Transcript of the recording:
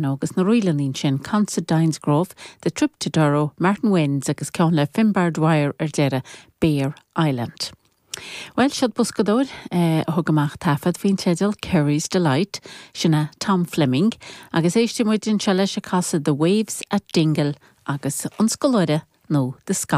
Agus na ríleanna ansin, Considine's Grove, The Trip to Durrow, Martin Wynne's agus ceann le Finbar Dwyer ar deireadh, Bere Island. Bhuel, siod boscadóir a thug amach taifead faoin teideal Kerry's Delight, sin é Tom Fleming, agus éistfidh muid anseo leis ag casadh The Waves at Dingle agus An Scoláire nó The Scholar.